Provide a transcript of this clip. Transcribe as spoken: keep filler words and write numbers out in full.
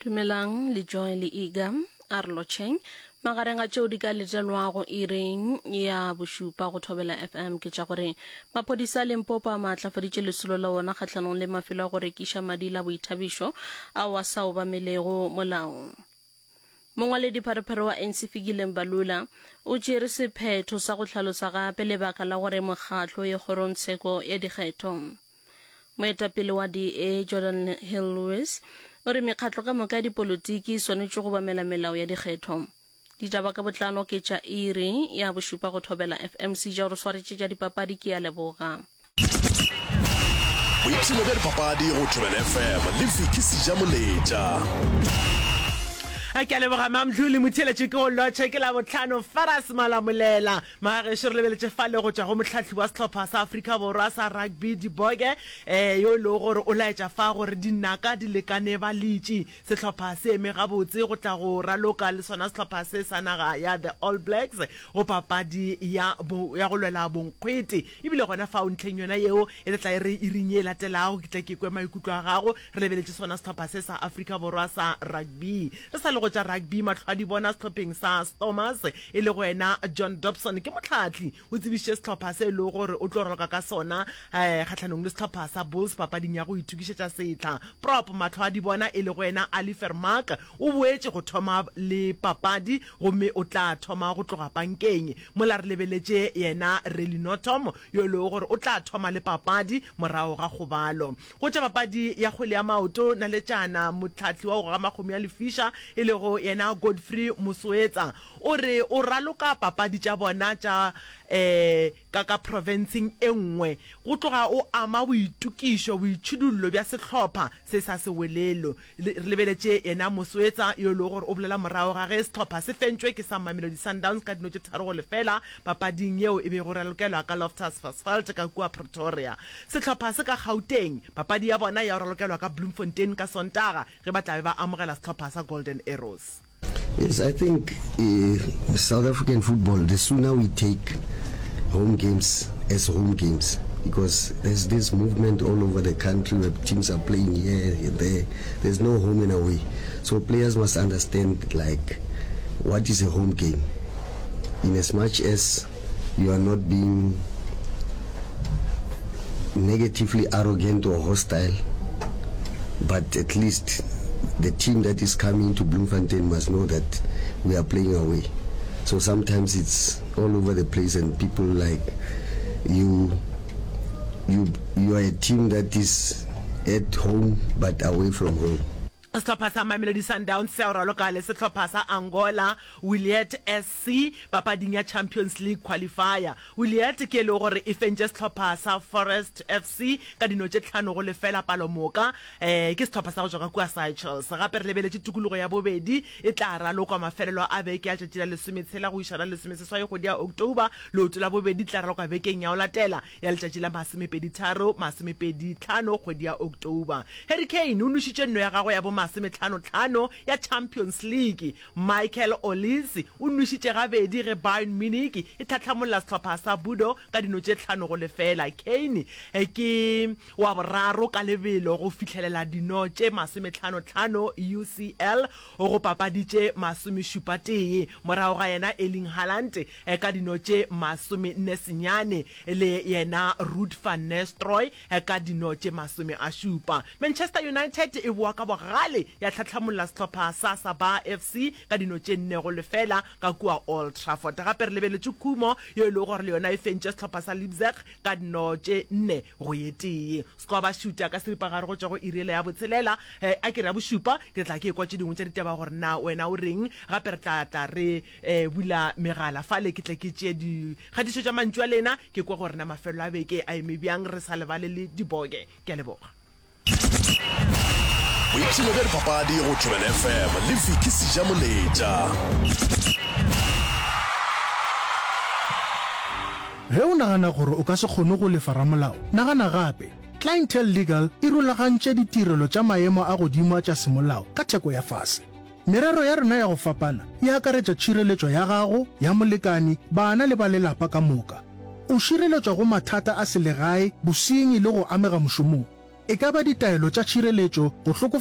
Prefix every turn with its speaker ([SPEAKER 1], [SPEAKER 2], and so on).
[SPEAKER 1] Dumelang le Joy le Iga a re lotšheng. Magareng a tšeo di ka letelwago iring ya bošupa go Thobela FM ke tša gore maphodisa a Limpopo a maatlafaditše lesolo la ona kgahlanong le mafelo a go rekiša madila a boithabišo ao a sa obamelego molao. Mongwaledipharephare wa ANC Fikile Mbalula o tšere sephetho sa go hlalosa gape lebaka la gore mokgatlo o ye kgorongtsheko ya dikgetho. Moetapele wa D_A Jordan Hill-Lewis o re mekgatlo ka moka ya dipolotiki e swanetše go obamela melao ya dikgetho. Ditaba ka botlalo ke tša iri ya bošupa go Thobela F_M. Seja o re swaretše tša dipapadi ke a leboga.
[SPEAKER 2] Boipshino bja dipapadi go Thobela F_M le Vicky Sejamoletša.
[SPEAKER 3] Ke a leboga Mamdluli Motheeletši ke go lotšhe ke Labohlano Faras Malamolela Magagešo re lebeletše fale go tšwa go mohlahli wa sehlopha sa Afrika Borwa sa rugby Diboke eh, yo e lego gore o laetša fa gore dinaka di lekane baletši. Sehlopha se eme gabotse go tla go raloka le sona sehlopha se sa naga ya The All Blacks go papadi ya, bo, ya go lwela bonkgwete. Ebile gona fao ntlheng yona yeo e tla tla e re iring ye e latelago ke tle ke kwe maikutlo a gago re lebeletše sona sehlopha se sa Afrika Borwa sa rugby. Re sa le go tša rugby mahlo a di bona sehlopheng sa Stormers e lego yena John Dobson ke mohlahli o tsebišitše sehlopha se e lego gore o tlo raloka ka sona kgahlanong le sehlopha sa Bulls papading ya go itokišetša sehla. Prop mahlo a di bona e lego yena Ali Vermaak o boetše go thoma le papadi gomme o tla thoma go tloga pankeng mola re lebeletše yena Rally Notom yo e lego gore o tla thoma le papadi morago ga kgobalo. Go tša papadi ya kgwele ya maoto, naletšana mohlahli wa go goga makgomo ya lefiša e lego yena Godfrey Mosoetsa o re o raloka papadi tša bona tša ka ka profenseng e nngwe go tloga o ama boitokišo, boitšhidullo bja sehlopha se sa Sewelelo. Re lebeletše yena Mosoetsa yo e lego gore o bolela morago ga ge sehlopha se fentšwe ke sa Mamelodi Sundowns ka dino tše tharo go lefela papading yeo e bego e ralokelwa ka Loftus Versfeld ka kua Pretoria. Sehlopha se ka Gauteng, papadi ya bona ya go ralokelwa ka Bloemfontein ka Sontaga ge ba tla be ba amogela sehlopha sa Golden Arrows.
[SPEAKER 4] Yes, I think uh, South African football, the sooner we take home games as home games, because there's this movement all over the country where teams are playing here and there. There's no home and away. So players must understand like what is a home game. In as much as you are not being negatively arrogant or hostile, but at least the team that is coming to Bloemfontein must know that we are playing away. So sometimes it's all over the place and people like you you you are a team that is at home but away from home.
[SPEAKER 3] Sehlopha sa Mamelodi Sundowns se ya go raloka le sehlopha sa Angola, Wiliete S C papading ya Champions League Qualifier. Wiliete ke e lego gore e fentše sehlopha sa Forest F C ka dino tše tlhano go lefela palomoka. Ke sehlopha sa go tšwa ka kua Seychelles. Gape re lebeletše tikologo ya bobedi e tla ralokwa mafelelo a beke ya tšatši la lesometshela go iša la lesomeseswai kgwedi ya October. Leoto la bobedi tla ralokwa bekeng ya go latela ya letšatši la masomepedi-tharo, masomepedi-tlhano kgwedi ya October. Harry Kane o nošitše nno ya gagwe ya bomasometlhano-tlhano ya Champions League. Michael Olise o nwešitše gabedi ge Bayern Munich e tlhatlhamolla sehlopha sa Bordeaux ka dino tše tlhano go lefela. Kane ke wa boraro ka lebelo go fihlelela dino tše masometlhano-tlhano U C L go papadi tše masomešupa-tee. Morago ga yena Erling Haaland ka dino tše masomenne-senyane le yena Ruud van Nistelrooy ka dino tše masome a šupa. Manchester United e boa ka bogale ya tlhatlhamolla sehlopha sa Sabah F C ka dino tše nne go lefela ka kua Old Trafford. Gape re lebeletše Khumo yo e lego gore le yona e fentše sehlopha sa Leipzig ka dino tše nne go ye tee. Score ba šuta ka seripagare go tšwa go iri yela ya botshelela, a ke re ya bošupa. Ke tla ke ekwa tše dingwe tša ditaba gore na wena o reng. Gape re tla tla re bula megala fale ke tle ke tšee dikgatišo tša mantšu a lena ke kwe gore na mafelelo a beke a eme bjang re sa lebale le diboke. Ke a leboga.
[SPEAKER 2] Boipshino bja dipapadi go Thobela F M le Vicky Sejamoletša.
[SPEAKER 5] Ge o nagana gore o ka se kgone go lefa ramolao, nagana gape. Clientele Legal e rulagantše ditirelo tša maemo a godimo a tša semolao ka theko ya fase. Merero ya rena ya go fapana e akaretša tšhireletšo ya gago, ya molekani, bana le ba lelapa ka moka. O šireletšwa go mathata a selegae, bosenyi le go amega mošomong. E ka ba ditaelo tša tšhireletšo, go hlokofatša,